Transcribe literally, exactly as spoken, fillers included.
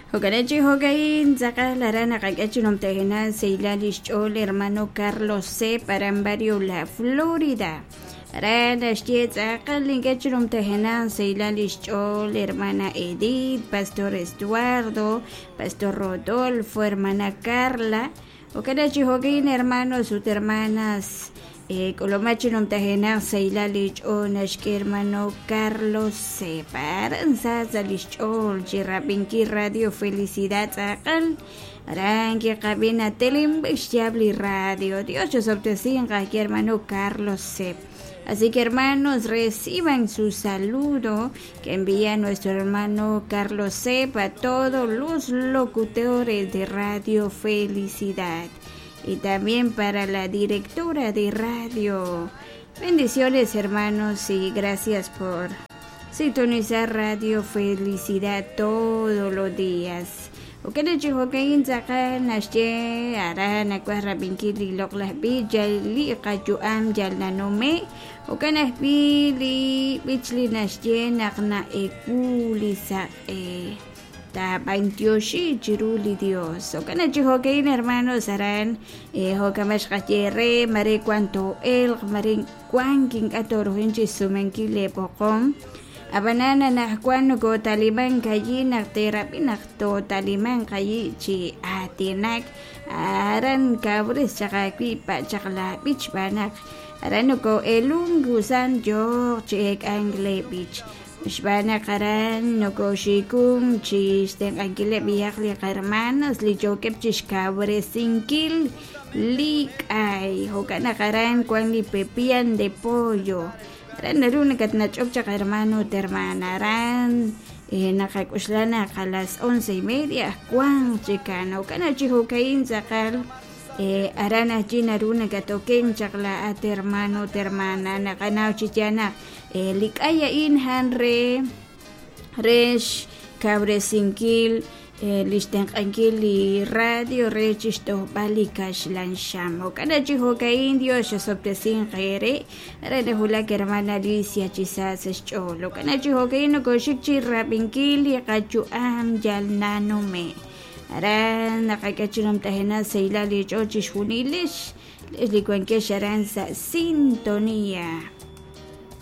Jo'kan chi jo'ka'in tz'aqal aran naqak'e chi numtajenaq sahilal lix ch'ool hermano Carlos C. aran barrio La Florida. Aran naxye tz'aqal ink'e chi numtajenaq sahilal lix ch'ool hermana Edith, Pastor Estuardo, Pastor Rodolfo, hermana Carla. Jo'kan chi jo'ka'in hermanos ut hermanas k'uluma chi numtajenaq sahilal li ch'ool naxk'e hermano Carlos C. Aran sa sa lix ch'ool chi rab'inkil Radio Felicidad tz'aqal aran kiqab'i natelinb'ej xyaab' li radio. Dios chosob'tesinq ajki hermano Carlos C. Así que hermanos, reciban su saludo que envía nuestro hermano Carlos C. a todos los locutores de Radio Felicidad y también para la directora de radio. Bendiciones hermanos y gracias por sintonizar Radio Felicidad todos los días. Jo'kan chi jo'ka'in tz'aqal naxye aran nakuaj rab'inkil li loq'laj b'ich yal li qayu'am yal nanume' jo'kan ajwi' li b'ich li naxye naq na'eku li saq'e taab'antioxi chiru li Dios. Jo'kan chi jo'ka'in hermanos aran jo'kan xqaye re mare wan to'elq mare wan kink'a to'rujin chi sumenkil li b'oqom ab'anan anajwan nokotaliman kayi naq terab'i naq totaliman kayi chi aatinak aran kabres chaq awi' pa' chaq la b'ich b'anaq aran noko'elun kusan yo'q chi ek'ank le b'ich xb'aan naq aran nokoxikun chi xtenq'ankileb' b'ihaq li qarhermanos li yookeb' chi xkawresinkil li k'ay jo'kan naq aran wan li pepian de pollo aran naru nakatnach'ok chaq hermano ut hermana aran naqak'uxla naq a las once y media wan chikan jo'kan chi jo'ka'in tz'aqal aran ajwi' naru nakatoken chaq la'at hermano ut hermana naqanaw chi ya naq li k'ay a'in han re re xkawresinkil li xtenq'ankil li radio re chi xtojb'al li kaxlan xam jo'kan chi jo'ka'in Dios xosob'tesinq eere aran najulak hermana Alicia chi sa sa xch'ool jo'kan chi jo'ka'in nokoxik chi rab'inkil li qayu'am yal nanume' aran naqak'e chi numtajenaq sahilal li ch'ool chixjunilix li wankex aran sa' sintonía.